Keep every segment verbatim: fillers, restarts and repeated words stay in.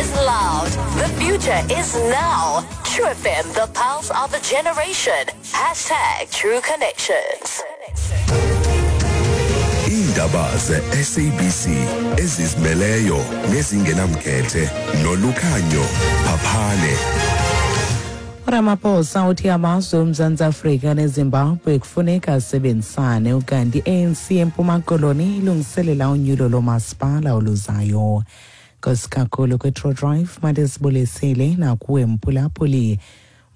is loud. The future is now. True F M, the pulse of a generation. Hashtag True Connections. Iindaba ze-S A B C ezizimeleyo nezingenamkhethe noLukhanyo Phaphane. URamaphosa uthi amazwe oMzantsi Afrika neZimbabwe kufuneka asebenzisane, ukanti i-A N C eMpuma Koloni ilungiselela unyulo lomasipala oluzayo. Nkosi kakhulu kwi-True Drive, mandisibulisele nakuwe mphulaphuli.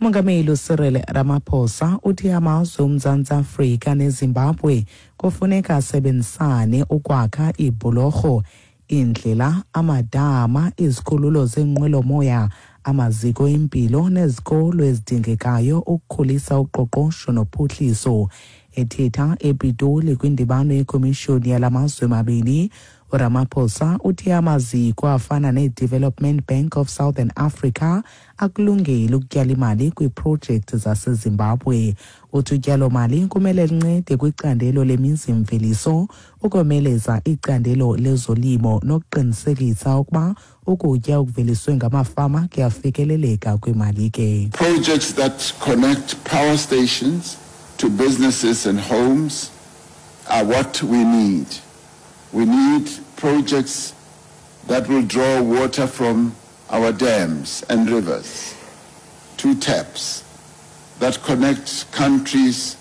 Umongameli uCyril Ramaphosa uthi amazwe oMzantsi Afrika neZimbabwe kufuneka asebenzisane ukwakha iibhulorho, iindlela, amadama, izikhululo zeenqwelomoya, amaziko empilo nezikolo ezidingekayo ukukhulisa uqoqosho nophuhliso. Ethetha ePitoli kwindibano yekomishoni yala mazwe mabini, uRamaphosa uthi amaziko afana nee-Development Bank of Southern Africa akulungele ukutyala imali kwiiprojekthi zaseZimbabwe. Uthi utyalomali kumele lincede kwicandelo lemizimveliso, ukomeleza icandelo lezolimo nokuqinisekisa ukuba ukutya okuveliswe ngamafama kuyafikeleleka kwimalike. Projects that connect power stations to businesses and homes are what we need. We need projects that will draw water from our dams and rivers to taps that connect countries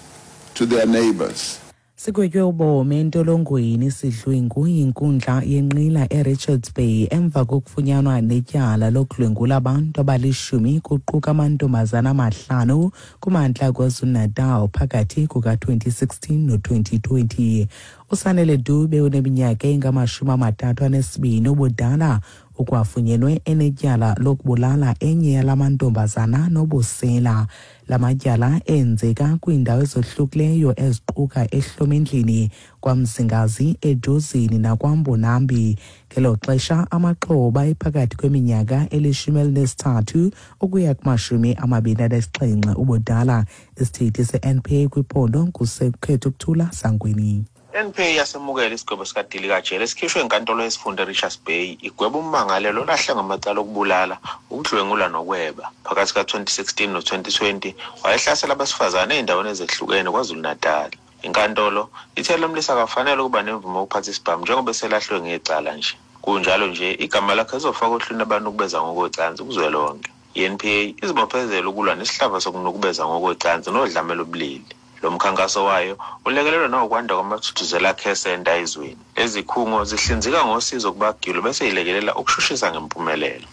to their neighbors. Sigwetywe ubomi entolongweni isidlwengu yinkundla yenqila eRichards Bay emva kokufunyanwa netyala lokudlwengula abantu abalishumi, kuquka amantombazana amahlanu, kumantla KwaZulu-Natal phakathi kuka-twenty sixteen no-twenty twenty. USanele Dube uneminyaka engamashumi amathathu anesibini ubudala ukwafunyenwe enetyala lokubulala enye yala mantombazana nobusela. La matyala enzeka kwiindawo ezohlukileyo eziquka eHlomendlini, kwaMzingazi, eDozini nakwaMbonambi. Ngelo xesha amaxhoba ephakathi kweminyaka elishumi elinesithathu ukuya kumashumi amabini anesixhenxe ubudala. Isithethi se-N P A kwiphondo nguSekhethukuthula Sangweni. N P A yasemukela isigwebo sikadilikajele esikhishwe enkantolo yesifunda eRichards Bay igweba ummangalelwa olahle ngamacala okubulala, ukudlwengula nokweba. Phakathi kuka-twenty sixteen no-twenty twenty wayehlasela abesifazane ey'ndaweni ezehlukene KwaZulu-Natal. Inkantolo ithe lo mlisa akafanele ukuba nemvume yokuphatha isibhamu njengoba eselahlwe ngecala nje. Kunjalo nje igama lakhe lizofakwa ohlwini abanukubeza ngokocansi kuzwelonke. I-N P A izibophezela ukulwa nesihlava sokunukubeza ngokocansi nodlame lobulili. Lo mkhankaso wayo ulekelelwa nawukwanda kwamaThuthuzela Care Centre ezweni. Lezi zikhungo zihlinzeka ngosizo kubagilwa bese yilekelela ukushushisa ngempumelelo.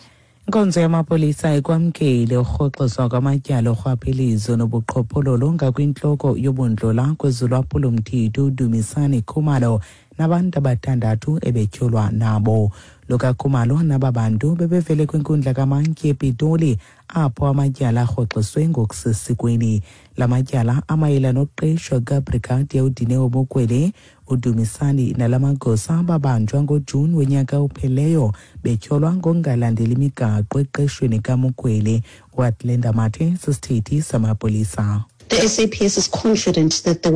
Inkonzo yamapolisa ikwamkele urhoxiswa kwamatyala orhwaphilizo nobuqhophololo ngakwintloko yobundlola kwezolwaphulomthetho uDumisani Khumalo nabantu abathandathu ebetyholwa nabo. LokaKhumalo naba bantu bebevele kwinkundla kamantyi ePitoli apho amatyala arhoxiswe ngokusesikweni. La matyala amayela nokuqeshwa kukaBrigadier uDineo Mokwele. UDumisani nala magosa babanjwa ngoJuni wonyaka opheleyo betyholwa ngokungalandeli imigaqo eqeshweni kaMokwele. UAtlenda Mathe sisithethi samapolisa. The S A P S is confident that the